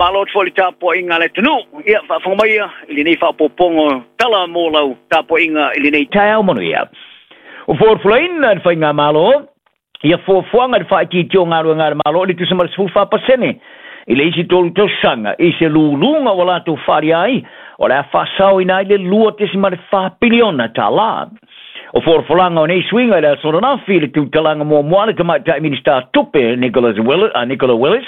Faamalo atu foi i le tapuaiga a le atunuu. Ia, faafofoga maia i lenei faaopoopoga o tala mo lau tapuaiga i lenei taeao manuia. Ua folafolaina e le Faigamalo ia fuafuaga i le faaitiitia o galuega a le Malo i le tusa ma le 14% i le isi 3 tausaga i se luluga ua latou faaalia ai o le a faasaoina ai le $2.4 piliona tala. O folafolaga o nei suiga i le aso ananafi i le tutalaga muamua a le Tamaitai Minisita Tupe Nicola Willis,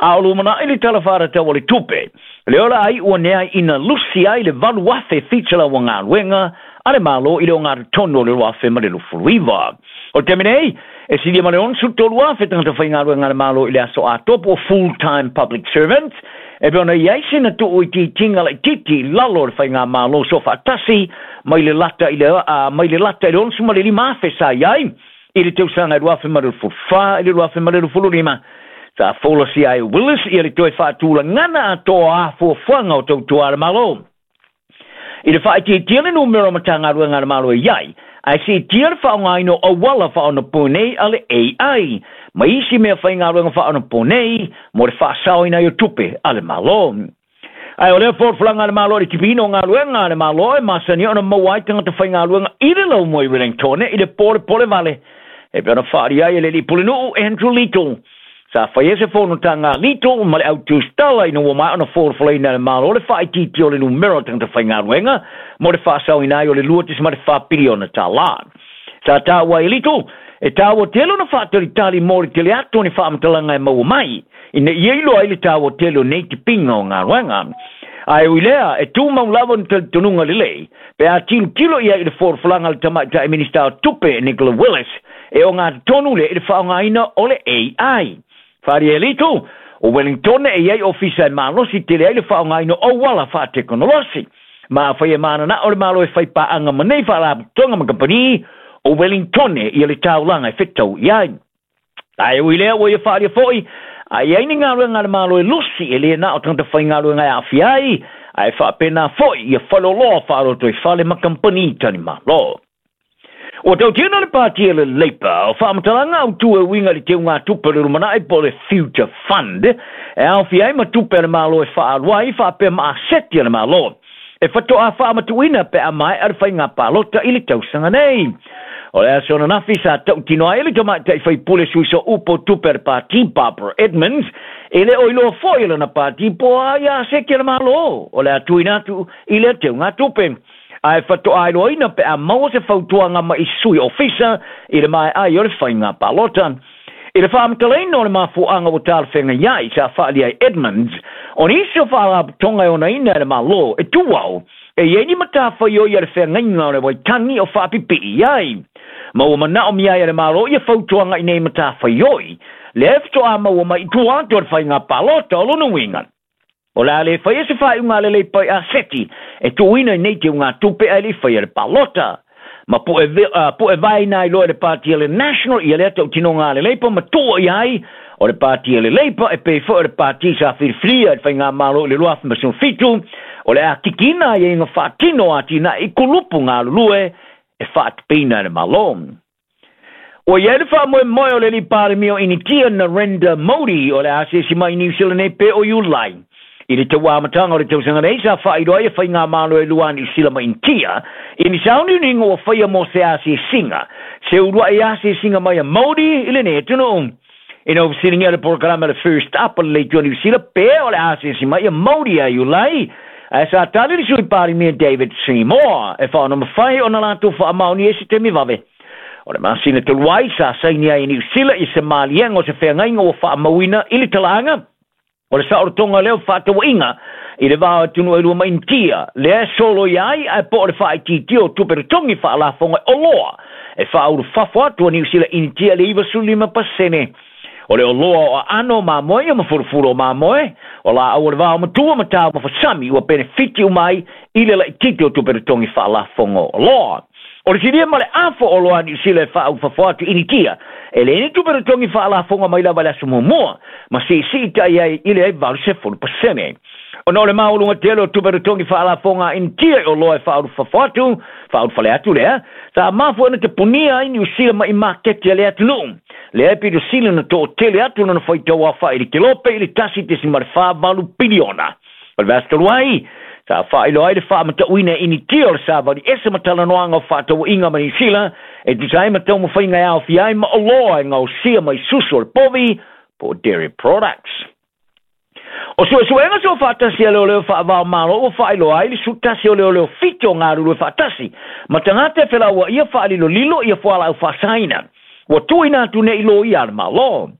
a o lumanai le Tala Faatatau o le Tupe. Le o le a iu ane ai ina lusi ai le 8,700 o galuega a le Malo i le ogatotonu o le 2029. O le taimi nei, e silia ma le 63,000 tagata faigaluega a le Malo i le aso atoa po o full-time public servants, e pei ona i ai sina tuuitiitiga laitiiti i lalo o le Faigamalo Soofaatasi mai le lata i le mai le lata i le 65,000 sa i ai i le tausaga e 2024 i le 2025. Sa folasia ai e Willis ia le toe faatulagana atoa o a fuafuaga o tautua a le Malo. I le faaitiitia le numera o Matagaluega a le Malo e i ai, ae siitia le faaaogaina o auala faaonaponei a le AI ma isi mea faigaluega faaonaponei mo le faasaoina ai o tupe a le Malo. Ae o lea folafolaga a le Malo i le tipiina o galuega a le Malo e masani ona maua ai tagata faigaluega i le laumua i Wellingtone i le polepole vale, e pei ona faaalia ai e le alii pulenuu Andrew Little. Sa faia se fonotaga a Little ma le au tusitala ina ua maea ona folafolaina e le Malo le faaitiitia o le numera o tagata faigaluega mo le faasaoina ai o le $2.4 piliona tala. Sa taua ai e Little, e taua tele ona faatalitali mo le tele atu o ni faamatalaga e maua mai, ina ia iloa ai le taua tele o nei tipiga o galuega. Ae ui lea, e tumau lava ni talitonuga lelei, pe a tilotilo i ai i le folafolaga a le Tamaitai Minisita o Tupe, Nicola Willis, e ogatotonu lea i le faaaogaina o le AI. Faaalia e Little, o Wellingtone e i ai ofisa e malosi tele ai le faaaogaina o auala faatekonolosi. Ma afai e mananao le Malo e fai paaga ma nei faalapotopotoga ma kamupani, o Wellingtone ia le taulaga e fetau i ai. Ae ui lea ua ia faaalia foi, a i ai ni galuega a le Malo e lusi, e le na o tagata faigaluega e aafia ai, ae faapena foi ia faleoloa faalotoifale ma kamupani talimalo. Ua tautino le Pāti a le Labour o faamatalaga autu e uiga i le teugatupe o le lumanai po o le Future Fund e aofia ai ma tupe a le Malo e faaalu ai faapea ma aseti a le Malo e faatoa faamatuuina pe a maea le faiga palota i le tausaga nei. O le aso ananafi sa tautino ai le tamaitai faipule sui sooupu o tupe a le Pāti Barbara Edmonds e le o iloa foi e lana pāti po o a ia aseti a le Malo o le a tuuina atu i lea teugatupe. Ae faatoa iloaina pe a maua se fautuaga mai sui ofisa i le maea ai o le faiga palota. I le faamatalaina o le mafuaaga ua talafeagai ai sa faaalia ai Edmonds, o nisi o faalapotopotoga e onaina e le Malo e tuau e i ai ni matafaioi a le feagaiga o le Waitangi o faapipii i ai. Ma ua manaomia ai e le Malo ia fautuaga i nei matafaioi, lea e faatoa maua mai i tua atu o le faiga palota o lona uiga. O le a le faia se faaiuga a le Leipa i aseti e tuuina i nei teugatupe ae le i faia le palota. Ma pu'e vaeina ai loa e le Pāti a le National ia lea tautinoga a le Leipa ma tuua ia ai o le Pāti a le Leipa e pei foi o le pāti sa filifilia e le Faigamalo i le 2017 o le a kikiina aiaiga faatino o atinae i kulupu galulue e faatupeina e le Malo. Ua i ai le faamoemoe o le alii Palemia o Initia Narendra Modi o le a asiasi mai i Niu Sila nei pe o Iulai. I le tau amataga o le tausaga nei sa faailoa ai e faigamalo e lua a Niu Sila ma Initia i ni sauniuniga ua faia mo se asiasiga, se uluai asiasiga mai a Modi i lenei atunuu. Ina ua fesiligia le polokalame a le First Up a le Leitu a Niu Sila pe o le a asiasi mai a Modi ia Iulai, ae sa tali le Sui Palemia David Seymour e faaonamafai ona latou faamaonia i se taimi vave. O le masina talu ai, sa saini ai e Niu Sila i se maliega o se feagaiga ua faamauina i le talaaga o le saolotoga lea o fefaatauaiga i le va o atunuu e lua ma Initia, lea e soloia ai ae po o le faaitiitia o tupe totogi faalafoga e oloa e faaulufafo atu a Niu Sila i Initia i le 95%. O le oloa o aano o mamoe ia ma fulufulu o mamoe, o laau o le vaomatua ma taumafa sami ua penefiti uma ai i le laitiiti o tupe totogi faalafoga o oloa. O le silia ma le afo o oloa a Niu Sila e faaulufafo atu i Initia, e leai ni tupe totogi faalafoga mai lava i le aso muamua, ma siisii tai ai i le 80%. Ona o le maualuga tele o tupe totogi faalafoga a Initia i oloa e faaulufafo atu, faaulufale atu lea, sa mafua ona tapunia ai Niu Sila mai maketi a le atunuu. Lea e pito sili ona toatele atu lona faitau aofai i le kelope i le 1.48 piliona. O le vaiaso talu ai, sa faailoa ai le faamatauina e Initia o le savali ese ma talanoaga o fefaatauaiga ma Niu Sila e tusa ai ma taumafaiga e aofia ai ma oloa e gaosia mai susu o le povi po o dairy products. O suesuega soofaatasi a leoleo faava-o-Malo ua faailoa ai le 11 o leoleo 7 o galulue faatasi ma tagata e felauaia faalilolilo ia fualaau faasaina ua tuuina atu nei i loia a le Malo.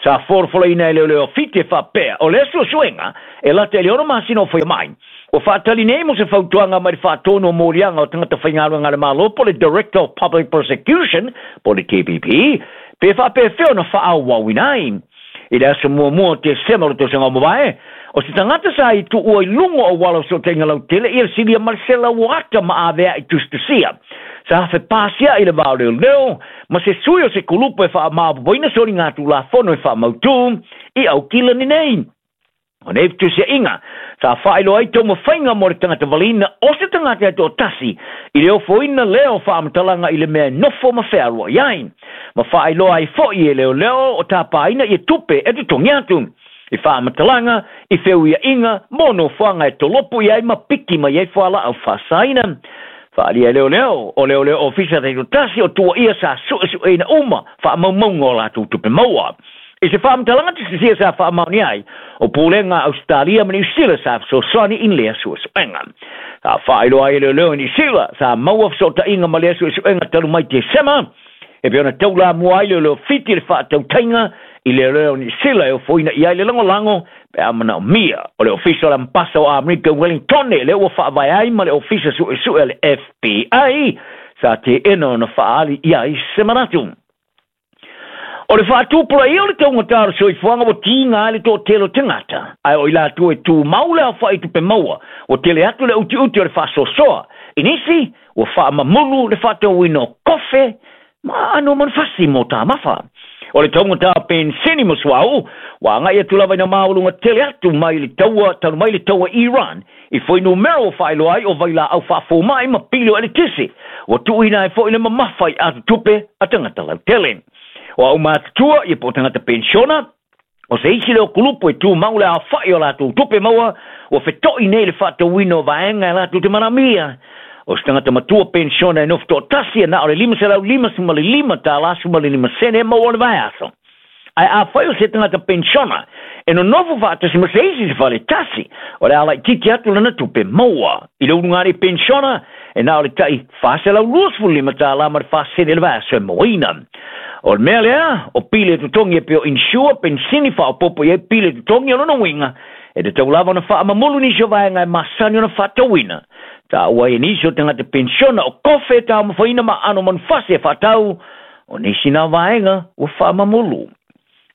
Sa folafolaina e leoleo 7 e faapea, o lea suesuega e lata i le 6 masina o faia mai, ua faatali nei mo se fautuaga mai le Faatonu o Moliaga o Tagata Faigaluega a le Malo po o le Director of Public Prosecution po o le DPP pe faapefea ona faaauauina ai. I le aso muamua o Tesema o le tausaga ua mavae, o se tagata sa i tuua i luga o auala o fesootaiga lautele ia le silia ma le 100 ata ma avea'i tusitusia. Sa fepasia'i i le va o leoleo ma se sui o se kulupu e faamaopoopoina soligatulafono e faamautu i Aukilani nei. O nei fetusia'iga sa faailoa ai taumafaiga mo le tagata valiina o se tagata e toatasi i le ofoina lea o faamatalaga i le mea e nofo ma fealua'i ai, ma faailoa ai fo'i e leoleo o tapaina ia tupe e totogi atu i faamatalaga i feuia'iga mo nofoaga e tolopo i ai ma piki mai ai fualaau faasaina. Faaalia e leoleo o leoleo ofisa taitoatasi o tuuaia sa su'esu'eina uma faamaumauga o latou tupe maua. I se faamatalaga tusitusia sa faamaonia ai, o Pulega a Ausetalia ma Niu Sila sa fesoasoani i lea suesuega. Sa faailoa ai e leoleo i Niu Sila, sa maua fesootaiga ma lea suesuega talu mai Tesema, e pei ona taulamua ai leoleo Fiti i le faatautaiga i leoleo Niu Sila e ofoina i ai le lagolago pe a manaomia. O le Ofisa o le Ambasa o Amerika i Wellingtone lea ua faavae ai ma le Ofisa Suesue a le FBI sa teena ona faaali i ai se manatu. O le faatupulaia o le taugata o le soifuaga ua tiga ai le toatele o tagata, ae o i latou e tumau le aofai tupe maua, ua tele atu le utiuti o le faasoasoa. I nisi, ua faamamulu le faatauina o kofe ma aano manufasi mo tamafa. O le taugata o penisini ma suauu, ua agai atu lava ina maualuga tele atu mai le taua talu mai le taua Iran i fuainumera ua faailoa ai o vailaau faafoma'i ma pili o eletise, ua tuuina ai foi le mamafa i atutupe a tagata lautele. O aumatutua ia po o tagata penisiona, o se isi lea o kulupu e tumau le aofa'i o latou tupe maua ua feto'i nei i le faatauina o vaega e latou te manaomia. O se tagata matua penisiona e nofo toatasi e na o le $555.15 e maua o le vaiaso. Ae afai o se tagata penisiona e nonofo faatasi ma se isi i se fale tasi, o le a laitiiti atu lana tupe maua. I le ulugalii penisiona, e na o le tai $425 ma le 4 sene i le vaiaso e mauaina. O le mea lea, o pili e totogi e pei o insure, penisini, faaopoopo i ai pili e totogi, o lona uiga, e tatau lava ona faamamulu nisi o vaega e masani ona faatauina. Taua ai e nisi o tagata penisiona o kofe e taumafaina ma aano manufasi e faatau, o nisi na vaega ua faamamulu.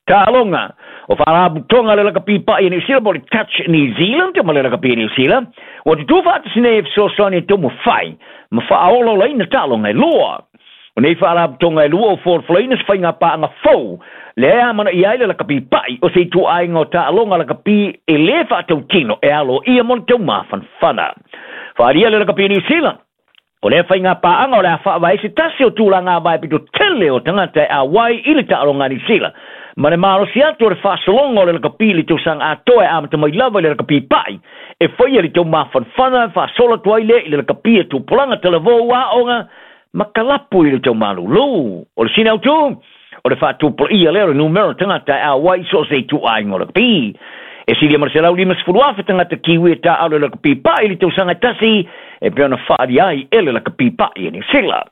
Taaloga, o Faalapotopotoga a le Lakapi Pa'i a Niu Sila po o le Touch New Zealand ma le Lakapi a Niu Sila ua tutū faatasi nei e fesoasoani e taumafai ma faaolaolaina taaloga e lua. O nei faalapotopotoga e lua ua folafolaina se faiga paaga fou lea e amanaia ai le lakapi pa'i o se ituaiga o taaloga lakapi e lē faatautino e aloaia mo le taumafanafana. Faaalia le Lakapi a Niu Sila, o lea faiga paaga o le a faavae ai se tasi o tulaga avae pito tele o tagata e auai i le taaloga a Niu Sila ma le malosi atu o le faasologa o le lakapi i le tausaga atoa e amata mai lava i le lakapi pa'i e faia le taumafanafana e faasolo atu ai lea i le lakapi a tupulaga talavou aoga ma kalapu i le taumalūlū. O le sini autū, o le faatupulaia lea o le numera o tagata e auai i so o se ituaiga o lakapi. E silia ma le 150,000 tagata Kiwi e taaalo i le lakapi pa'i i le tausaga e tasi e pei ona faaalia ai e le lakapi pa'i a Niu Sila.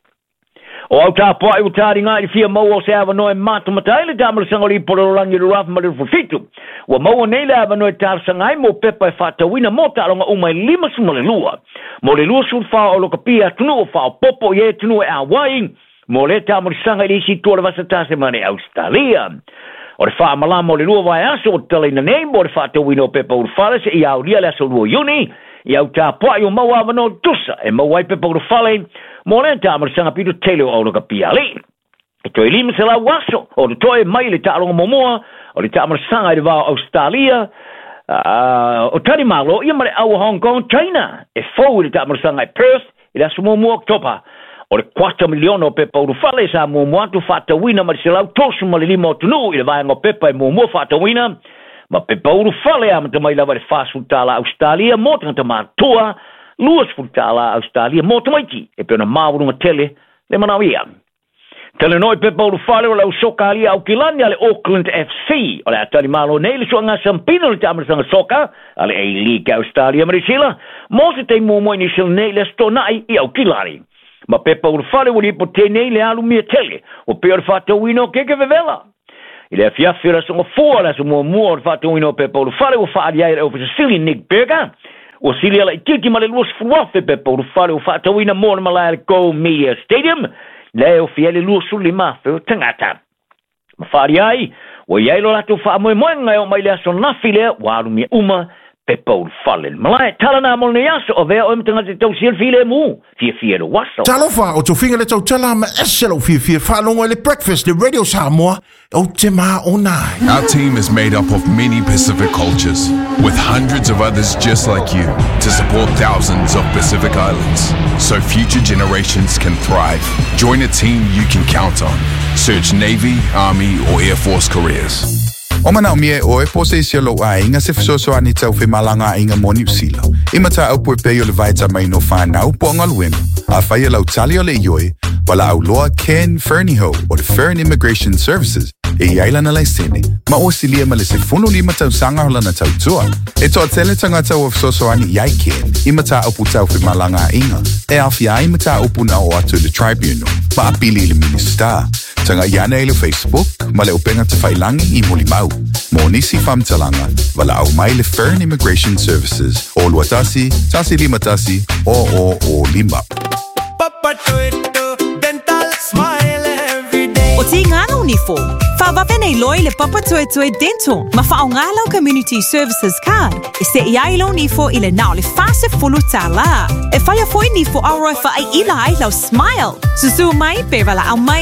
O au tapua'i ua taliga i le fia maua o se avanoa e matamata ai le taamalosaga o le Ipu o le Lalolagi i le 2027. Ua maua nei le avanoa e talosaga ai mo pepa e faatauina mo taaloga uma e 52 mo le 24 o lakapi a atunuu o faaopoopo i ai atunuu e auai mo lea taamalosaga i le isi itu o le vasa Tasemane Ausetalia. O le faamalama o le 2 vaiaso ua tatalaina nei mo le faatauina o pepa ulufale seia aulia le aso 2 Iuni i au tapua'i ua maua avanoa tutusa e maua ai pepa ulufale mo lea taamalosaga pito tele o aulakapi alii. E toe 500 aso o totoe mai le taaloga muamua o le taamalosaga i le va o Ausetalia O tali malo ia ma le au Hong Kong China e fou i le taamalosaga i Perth i le aso 1 Oketopa. O le 250 miliona o pepa ulufale sa muamua atu faatauina ma le 135 o atunuu i le vaega o pepa e muamua faatauina ma pepa ulufale amata mai lava i le $40 Ausetalia mo tagata matutua, $20 Ausetalia mo tamaiti e pei ona maualuga tele le manaomia. Talanoa i pepa ulufale o le au soka alia Aukilani a le Auckland FC o le a talimalo nei le suaga sampina o le taamalosaga soka a le A-League Ausetalia ma Niu Sila mo se taimi muamua i Niu Sila nei i le Aso Toonai i Aukilani. Ma pepa ulufale ua lipote nei le alumia tele ua pei o le faatauina o keke vevela. I le afiafi o le Aso Gafua, le aso muamua o le faatauina o pepa ulufale ua faaali ai e le Ofisa Sili Nick Berger, ua sili laitiiti ma le 20,000 pepa ulufale ua faatauina mo le malae a le Go Media Stadium, lea e ofi ai le 25,000 o tagata. Ma faaali ai, ua i ai lo latou faamoemoega e oo mai le aso nafi lea ua alumia uma pepa ulufale. Le malae, tala na mo lenei aso, avea oe ma tagata e tausia le filemu, fiafia i lou aso. Talofa, o tofiga le tautala ma ese lou fiafia faalogo i le Breakfast le Radio Samoa, ou te maona ai. Our team is made up of many Pacific cultures, with hundreds of others just like you to support thousands of Pacific Islands, so future generations can thrive. Join a team you can count on. Search Navy, Army, or Air Force careers. O manaomia e ʻoe po o se isi o lou aiga se fesoasoani tau femalagaaiga mo Niu Sila, i mataupu e pei o le vaetamaina o fanau po o galuega, afai o lau tali o le ioe, valaau loa Ken Fernihough o le Fern Immigration Services e i ai lana laisene ma ua silia ma le 15 tausaga o lana tautua. E toatele tagata ua fesoasoani i ai Ken i mataupu tau femalagaaiga e aofia ai mataupu na oo atu i le Tribunal ma apili i le Minisita. Tagai ane i le Facebook ma le upega tafailagi i Mulimau. Mo nisi faamatalaga, valaau mai le Fern Immigration Services o 21 151 0005. O Tīngana o Nifo, whawawe nei loi le Papatoetoe Dental ma whaonga lau Community Services Card e se i ai lau nifo i le nao le $40. E whaia foi nifo aroa whaai ila ai lau smile. Susu mai pe wala au mai.